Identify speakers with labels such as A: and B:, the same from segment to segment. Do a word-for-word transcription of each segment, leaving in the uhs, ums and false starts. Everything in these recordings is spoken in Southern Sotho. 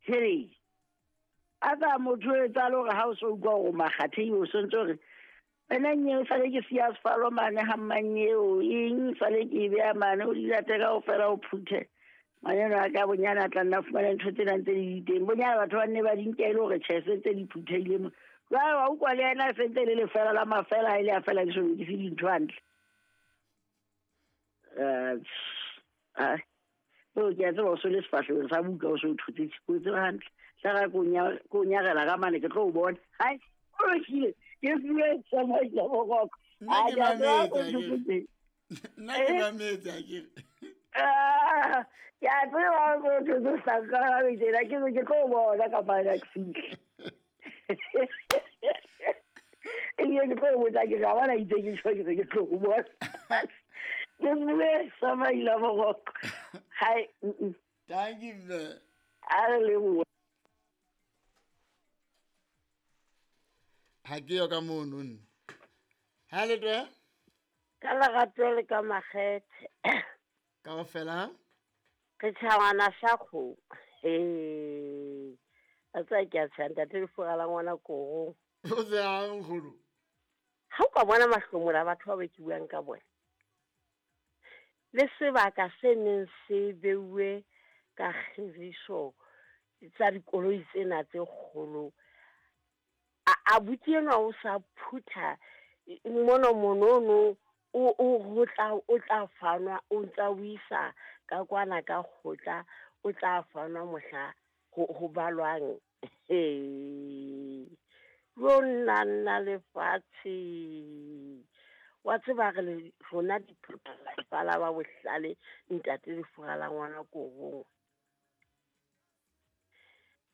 A: Hey a tsa motho e tsa lore ha o so utlwa hore makgatheng o sontse hore wena nye sale ke siya sefalo mane ha mmanyeo eng sale ke e beha mane o di late kaofela o phuthe manyeno a ka bonyane a tla nna fumana ntho tsena ntse di le teng bonyane batho ba nne ba di nke e le hore tjhe se ntse di phuthehile mo jwale wa utlwa le yena se ntse le lefela la mafela ha e le a fela ke so lokise dintho hantle. Eh o ke a tseba o so le sefahlehong sa buka o so o thotse o tseba hantle tla ra ko ko nyarela ka mane ke tlo o bona hai o lokile ke bue sa maila boroko
B: nna ke mametse nna ke mametse akere
A: ah ke a tseba o thotse sa ka tsela ke ke tlo o bona ka mane ke fihle ebile ke tlo o botsa ke ga bona itse ke tjho ke ke tlo o bona ke bue sa maila boroko hai.
B: Thank you mme.
A: A re lebohe.
B: Ha ke yo ka mono nna. Ha le twe?
C: Ka lerato le ka makgethe.
B: Kaofela?
C: Re tjhawana sa kgomo. Ee. A tsa ke a tsha ntate lefura la ngwana korong.
B: O tsehang nkgono?
C: Ha o ka bona mahlomola a batho ba be ke buang ka bona. Le sebaka se neng se beuwe ka kgiriso tsa dikoloi tsena tse kgolo. A abuti enwa o sa phutha mono monono o o ho tla o tla fanwa o ntsa o isa ka kwana ka kgotla o tla fanwa mohla ho ho balwang. Yo nna nna lefatshe wa tseba re le rona diphala ba bohlale ntate lefura la ngwana korong.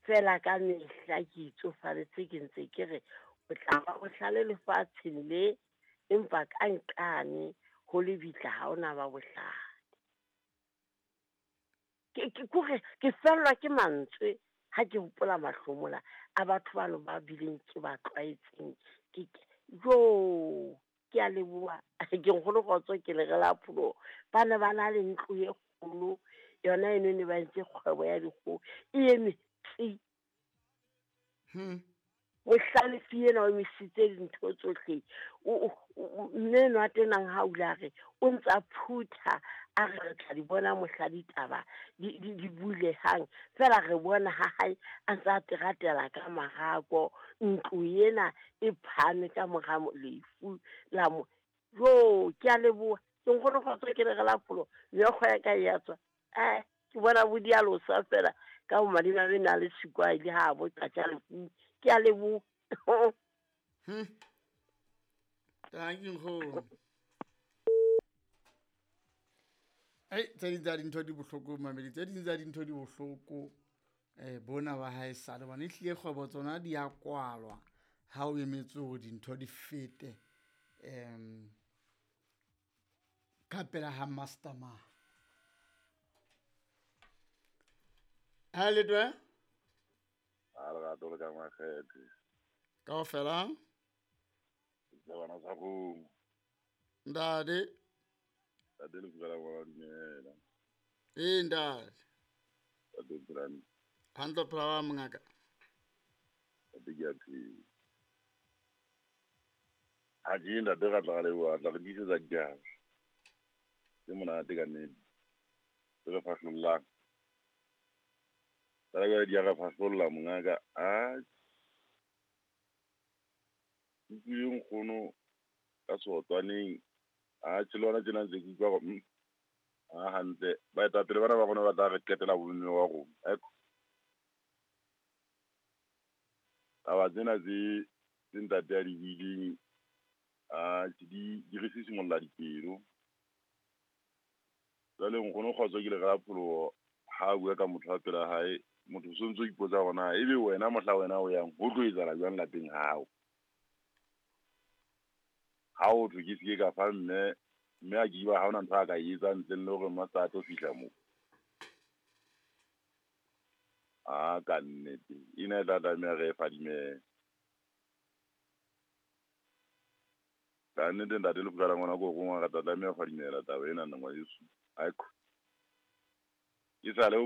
C: Fela ka mehla ke itsofaletse ke ntse ke re o tla ba bohlale lefatsheng le empa ka nqane ho lebitla ha ona ba bohlale. Ke ke kore ke fellwa ke mantswe ha ke hopola mahlomola a batho bano ba bileng ke ba tlwaetseng. Ke jo ke a leboha ke nkgono kgotso ke le re la pholo ba ne ba na le ntlo e kgolo yona eno ne ba entse kgwebo ya dikgoho e eme tsi.
B: Hmm.
C: Mohlalefi ena o emisitse dintho tsohle. O mme enwa tenang ha o ile a re o ntsa phutha a re re tla di bona mohla ditaba di di di bulehang fela re bona ha hae a ntsa teratela ka marako ntlo ena e phane ka mora lefu la mo jo ke a leboha ke nkgono kgotso ke le re la pholo meokgo ya ka e ya tswa eh ke bona bo dialosa fela ka bo madimabe na le sikwa ile ha bo tlatsa lefu ke a leboha.
B: Hmm. Thank you nkgono. Ei tse ding tsa dintho di bohloko mamedi tse ding tsa dintho di bohloko eh bona ba hae sale bana ehlile kgwebo tsona di a kwalwa ha o emetse hore dintho di fete em ka pela ha master ma. Ha le twe?
D: A lerato le ka makgethe.
B: Kaofela?
D: Tsebana sa kgomo.
B: Ntate.
D: Ntate lefura la ngwana dumela.
B: Ee ntate.
D: Ntate Brand.
B: Hantle phela wa mongaka.
D: Ntate ke a phela. Ha ke ntate ra tla leboha tla re disetsa ditaba. Ke monate ka nnete. Re fahlollang. Tla re di a re fahlolla mongaka a utlwile nkgono ka seotswaneng a tjhe le hona tjena ntse ke utlwa hore a hantle baetapele bana ba rona ba tla re qetela bomme wa rona. Aiko taba tsena tse tse ntate a di buileng a di di re sisimolla dipelo. Jwale nkgono kgotso ke le re la pholoho ha a bua ka motho wa pela hae motho o sontso o ipotsa hore na ebe wena mohla wena o yang ho tlo etsahala jwang lapeng ha hao. Ha o thwe ke seke ka fa mme mme a ke ba ha hona ntho a ka e etsang ntle le hore master a tlo fihla moo. A ka nnete ena e tla tlameha re e fadimele. Ka nnete ntate lefura la ngwana ko rongwa re tla tlameha ho fadimela taba ena nna ngwaneso. Aiko. Ke sale o